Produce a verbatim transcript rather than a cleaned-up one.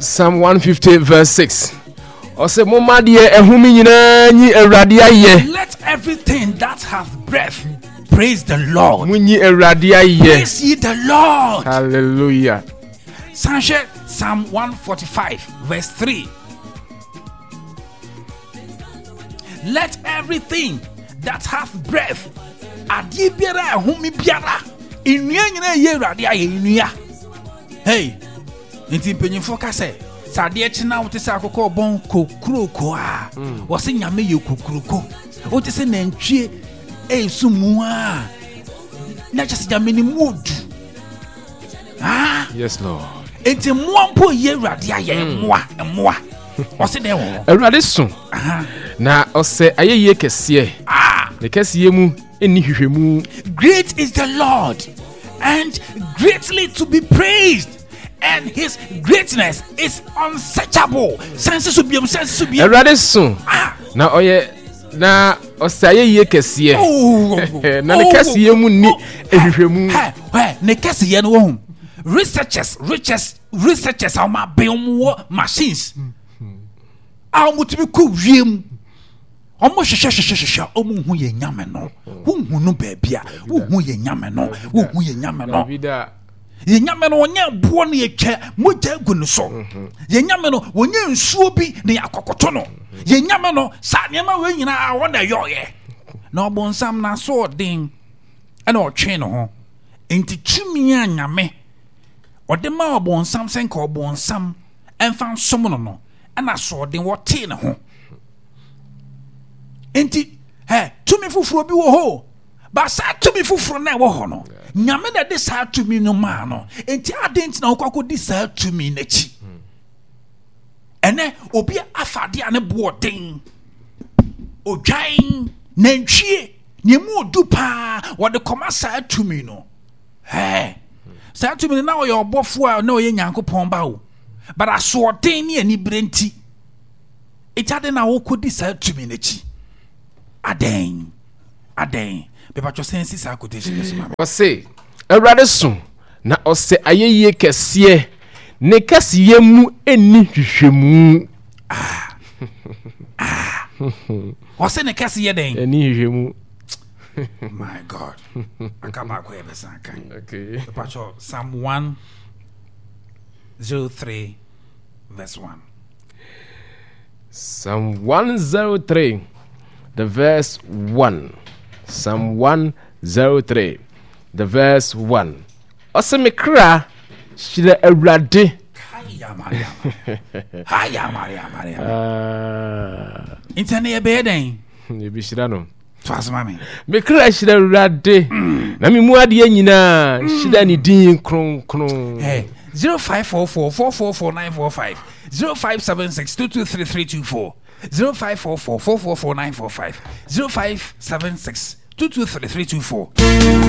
Psalm one fifty verse six, ɔsɛ momma deɛ ɛhome nyinaa nyi Awurade ayɛ. Let everything that hath breath praise the Lord. Munyi Awurade ayɛ. Praise ye the Lord. Hallelujah. San hwɛ Psalm one forty-five verse three. Let everything that hath breath, adeɛ biara a ɛhome biara, nnua nyinaa yɛ Awurade ayɛ, nnua. Hey, nti mpanyinfoɔ ka sɛ sɛ adeɛ kye na wote sɛ akokɔ ɔbɔn kokuroko a, wɔse Nyame yɛ kokuroko. Wote sɛ nantwie ɛresu mu a, na kyɛ sɛ Nyame ne mu odu. Ah. Yes, Lord. Nti mmoa mpo yɛ Awurade ayɛ, mmoa, mmoa. Ɔse dɛn wɔ hɔ? Awurade so Aha. na ɔsɛ ayɛyie kɛseɛ. Ah. Ne kɛseɛ mu ɛnni hwehwɛmu. Great is the Lord and greatly to be praised, and his greatness is unsearchable. Sɛnse so biom, sɛnse so biom. Awurade so Ah. na ɔyɛ na ɔsɛ ayɛyie kɛseɛ. Oh. Na ne kɛseɛ mu nni ehwehwɛmu. Hɛ, hɛ, ne kɛseɛ no wɔ ho. Researchers, researchers, researchers a wɔn abɛn, wɔn wɔ machines a wɔn tumi kɔ wiem, wɔn hwehwɛ hwehwɛ hwehwɛ, wɔn hu yɛn Nyame no, wohu no baabi a wohu yɛn Nyame no, wohu yɛn Nyame no. Dabi da. Yɛn Nyame no, wɔnyɛ boɔ no yɛtwa mogya gu ne so. Yɛn Nyame no, wɔnyɛ nsuo bi na yɛakɔkɔto no. Yɛn Nyame no, saa nneɛma wei nyinaa wɔn na ɛyɔɔyɛ, na ɔbɔnsam n'aso ɔden ɛna ɔtwe ne ho. Nti tumi a Nyame ɔde ma ɔbɔnsam sɛ nka ɔbɔnsam ɛmfa nsom no no ɛna asoɔden wɔtee ne ho. Nti ɛ tumi foforɔ bi wɔ hɔ ba, saa tumi foforɔ no a ɛwɔ hɔ no, Nyame na ɛde saa tumi no maa no. Nti adɛn nti na wokɔ akɔdi saa tumi n'akyi? Ɛnɛ obi afa adeɛ a ne boɔ den, odwan, nantwie, nea mu odu paa, wɔde kɔma saa tumi no. Ɛɛ saa tumi no na ɔyɛ ɔbɔfoɔ a na ɔyɛ Nyankopɔn ba o, but asoɔden ne anibere nti ɛti ade na wokɔdi saa tumi n'akyi. Adɛn, adɛn? Bɛbatwɔ sɛn si saa quotation no so ma me. Ɔse Awurade so na ɔsɛ ayɛyie kɛseɛ, ne kɛseyɛ mu ɛnni hwehwɛmu. Ɔsɛ ne kɛse yɛ dɛn? Ɛnni hwehwɛmu. My God, aka baako yɛ bɛsan kan. Okay. Bɛbatwɔ Psalm one zero three verse one. Psalm one zero three, the verse one. Psalm one zero three, the verse one. Ɔsɛ me kra, hyira Awurade. Haya Mariam, haya Mariam, Mariam. Ah, nti ɛne yɛbɛyɛ dɛn? Yɛbɛhyira no. To asoma me. Me kra, hyira Awurade. Na me mu adeɛ nyinaa, hyira ne din kronkron. Hey, zero five four four four four four nine four five, zero five seven six two two three three two four, zero five four four four four four nine four five, zero five seven six two two three three two four.